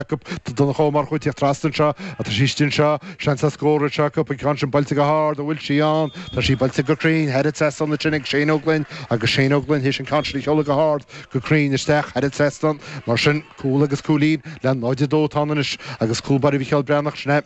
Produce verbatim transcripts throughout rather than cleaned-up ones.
acu Tá Donncha Ó Murchú ag tíocht trasna anseo ach tá sí istigh anseo seans ar scór anseo acu an ceann sin buailte go hard an bhfuil sí ann tá sí buailte go cruinn thar an trasnán ansin ag Shane Ó Gloinn agus Shane Ó Gloinn théis an ceann sin a sheoladh go hard go cruinn isteach thar an trasnán mar sin cúl agus cúilín le náid a dó atá ann anois agus cúl báire Mhicheál Breathnach sin é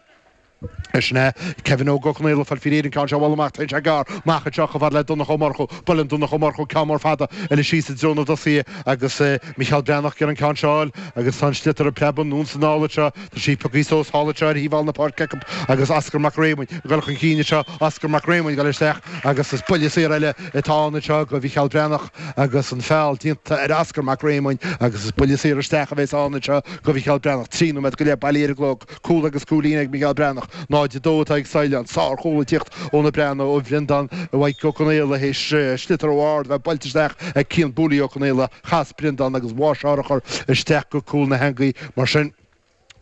Sin é Kevin Óg Ó Conaola ag fáil faoi réir an ceann seo a bhualadh amach téann sé gearr amach anseo chomh fada le Donncha Ó Murchú. Buaileann Donncha Ó Murchú ceann mór fada eile síos i dtreo na dtosaithe agus Micheál Breathnach ag iarraidh an ceann seo a fháil agus tá an sliotar ag preabadh anonn is anall anseo. Tá sí pioctha suas thall anseo ar thaobh thall na páirce acu agus Oscar Mac Réamoinn ag dul chun cinn anseo. Oscar Mac Réamoinn ag dul isteach agus is buille saor eile atá ann anseo do Mhicheál Breathnach agus an feall déanta ar Oscar Mac Réamoinn agus is buille saor isteach a bheas ann anseo do Mhicheál Breathnach. Trí nóiméad go leith bailithe ar an gclog. Cúl agus cúilín ag Micheál Breathnach. náid a dó atá ag Saighleán. Sár-chúl ag tíocht ó na Breathnaigh, ó Bhreandán Mhaidhc Ó Conaola théis sliotar ó ard a bheith buailte isteach ag Cian Booley Ó Conaola. Chas Breandán agus bháigh sé urchar isteach go cúl na heangaí. Mar sin,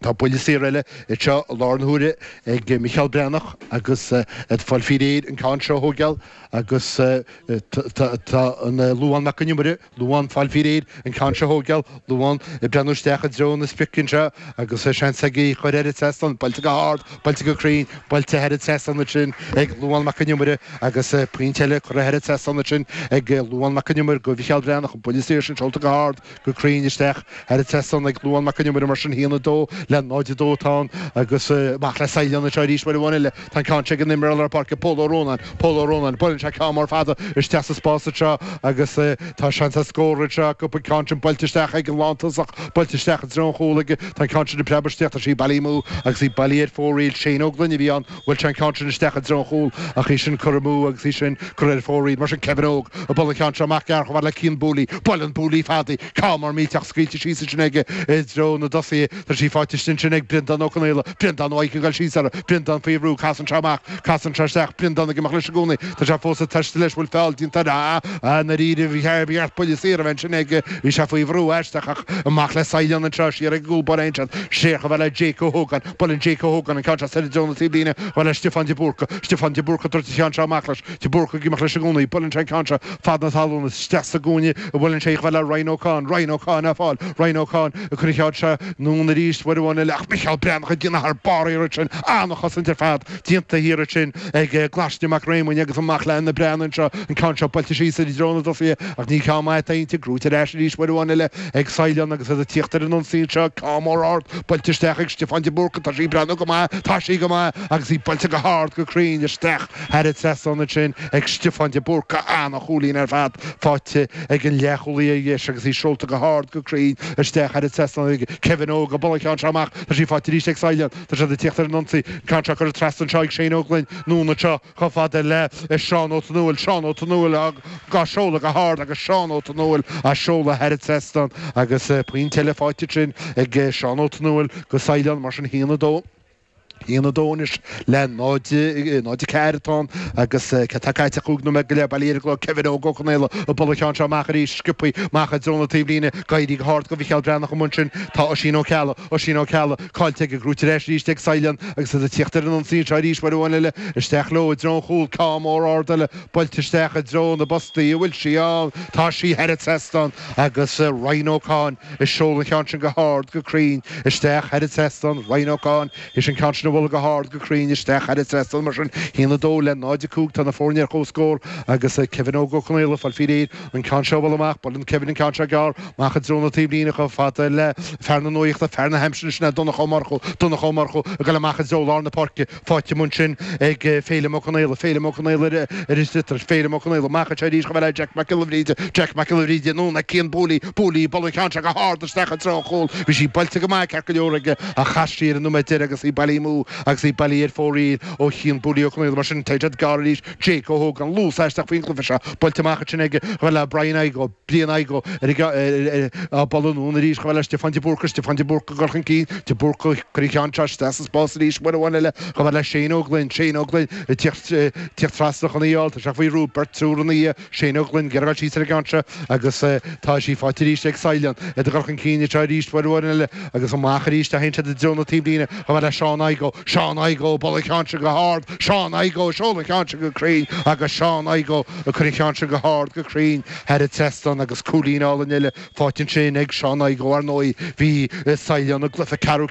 tá buille saor eile anseo i láthair na huaire ag Micheál Breathnach agus ag fáil faoi réir an ceann seo a thóigeáil agus tá an Luán Mac Con Iomaire, Luán ag fáil faoi réir an ceann seo a thóigeáil, Luán ag breathnú isteach i dtreo na sprice anseo agus seans aige í a chur thar an trasnán, buailte go hard, buailte go cruinn, buailte thar an trasnán ansin ag Luán Mac Con Iomaire agus pointe eile curtha thar an trasnán ansin ag Luán Mac Con Iomaire go Mhicheál Breathnach, an buille saor sin seolta go hard, go cruinn isteach thar an trasnán ag Luán Mac Con Iomaire mar sin a haon a dó le náid a dó atá ann agus amach le Saighleán anseo arís uair amháin eile. Tá an ceann seo ag an imreoir lár páirce Pól Ó Rónáin, Pól Ó Rónáin, buaileann sé ceann mór fada isteach sa spás anseo agus tá seans ar scór anseo acu, an ceann sin buailte isteach ag an lántosach, buailte isteach i dtreo an chúil aige, tá an ceann sin ag preabadh isteach, tá sí bailithe amú agus í bailithe ar fóraoil, Shane Ó Gloinn a bhí ann, bhuail sé an ceann sin isteach i dtreo an chúil ach í sin curtha amú agus í sin curtha ar fóraoil, mar sin Kevin Óg ag bualadh an ceann seo amach gearr chomh fada le Cian Booley, buaileann Booley fada í, ceann mór millteach scaoilte síos ansin aige i dtreo na dtosaithe, tá sí faighte ansin ag Breandán Ó Conaola, Breandán Ó ag dul síos uirthi, Breandán faoi bhrú, casann sé amach, casann sé isteach, Breandán ag imeacht leis i gcónaí, tá sé fós ag taisteal leis, bhfuil feall déanta air, ah, ah, i ndáiríre, ba cheart buille saor a bheith ansin aige, bhí sé faoi bhrú aisteach ach amach le Saighleán anseo, siar ag an gcúl báire ansin, siar chomh fada le Jake Ó hÓgáin, buaileann Jake Ó hÓgáin an ceann seo soir i dtreo na taobhlíne, chomh fada le Stiofán de Búrca, Stiofán de Búrca ag tabhairt an cheann seo amach leis, de Búrca ag imeacht leis i gcónaí, buaileann sé an ceann seo fad na talún, isteach sa gcúinne a bhuaileann sé chomh fada le Ryan Ó Cadhain, Ryan Ó Cadhain á fáil, Ryan Ó Cadhain ag cur an cheann seo anonn arís uair amháin eile ach Micheál Breathnach ag déanamh thar barr thiar ansin, an-chosaint ar fad déanta thiar ansin ag Glaisne Mac Réamoinn agus amach le na Breathnaigh anseo, an ceann seo buailte síos i dtreo na dtosaithe ach ní ceann maith atá inti, gnóite ar ais arís uair amháin eile ag Saighleán agus iad ag tíocht ar an ionsaí anseo, ceann mór ard buailte isteach ag Stiofán de Búrca, tá sí ag breathnú go maith, tá sí go maith agus í buailte go hard go cruinn isteach thar an trasnán ansin ag Stiofán de Búrca, an-chúilín ar fad faighte ag an leathchúlaí ar dheis agus í seolta go hard go cruinn isteach thar an trasnán ag Kevin Óg ag bualadh an cheann seo amach. Tá sí faighte arís ag Saighleán. Tá siad ag tíocht ar an ionsaí. An ceann seo curtha trasna anseo ag Shane Ó Gloinn. Anonn anseo chomh fada le Seán Ó Tonúil. Seán Ó Tonúil á seoladh go hard agus Seán Ó Tonúil á seoladh thar an trasnán agus pointe eile faighte ansin ag Seán Ó Tonúil go Saighleán mar sin a haon a dó. Aon a dó anois le náid, náid a ceathair atá ann agus cé tá caite ach cúig nóiméad go leith bailithe ar an gclog. Kevin Óg Ó Conaola ag bualadh an cheann seo amach arís, sciobtha amach i dtreo na taobhlíne. Ag éirí go hard go Mhicheál Breathnach amuigh ansin. Tá Oisín Ó Ceallaigh, Oisín Ó Ceallaigh, caillte aige, gnóite ar ais arís ag Saighleán agus iad ag tíocht ar an ionsaí anseo arís uair amháin eile. Isteach leo i dtreo an chúil, ceann mór ard eile buailte isteach i dtreo na bpostaí. An bhfuil sí ann? Tá sí thar an trasnán agus Ryan Ó Cadhain ag seoladh an cheann sin go hard, go cruinn isteach thar an trasnán. Ryan Ó Cadhain. Théis an ceann sin a bhualadh go hard, go cruinn isteach thar an trasnán mar sin, a haon a dó le náid a cúig, tá na foirne ar comhscór agus Kevin Óg Ó Conaola ag fáil faoi réir an ceann seo a bhualadh amach. Buaileann Kevin an ceann seo gearr amach i dtreo na taobhlíne chomh fada le fear na nuaíochta, fear na haimsire sin é Donncha Ó Murchú. Donncha Ó Murchú ag dul amach i dtreo lár na páirce, faighte amuigh ansin ag Féilim Ó Conaola. Féilim Ó Conaola ar an sliotar. Féilim Ó Conaola amach anseo arís chomh fada le Jack Mac Giolla Bhríde. Jack Mac Giolla Bhríde anonn ag Cian Booley. Booley ag bualadh an ceann seo go hard isteach i dtreo an chúil. Bhí sí buailte go maith ceart go leor aige ach chas sí ar an nóiméad deiridh agus í bailithe amú agus í bailithe ar fóraoil ó Chian Booley Ó Conaola. Mar sin, téann siad gearr arís. Jake Ó hÓgáin, luas aisteach faoin gcluiche seo. Buailte amach ansin aige chomh fada le Brian Igoe. Brian Igoe ar an á bualadh anonn arís chomh fada le Stiofán de Búrca. Stiofán de Búrca ag dul chun cinn. De Búrca ag cur an cheann seo isteach sa spás arís uair amháin eile chomh fada le Shane Ó Gloinn. Shane Ó Gloinn ag tíocht trasna chun í a fháil. Tá sé faoi bhrú. Beirt triúr ina dhiaidh. Shane Ó Gloinn ag iarraidh dul síos ar an gceann seo agus tá sí faighte arís ag Saighleán. Iad ag dul chun cinn anseo arís uair amháin eile agus amach arís a théann siad i dtreo na taobhlíne chomh fada le Seán Igoe. Seán Igoe bualadh an ceann sin go hard Seán Igoe seoladh an ceann sin go cruinn agus Seán Igoe ag cur an cheann sin go hard go cruinn thar an trasnán agus cúilín álainn eile faighte ansin ag Seán Igoe ar ndóigh bhí Sailearna i gcluiche ceathrú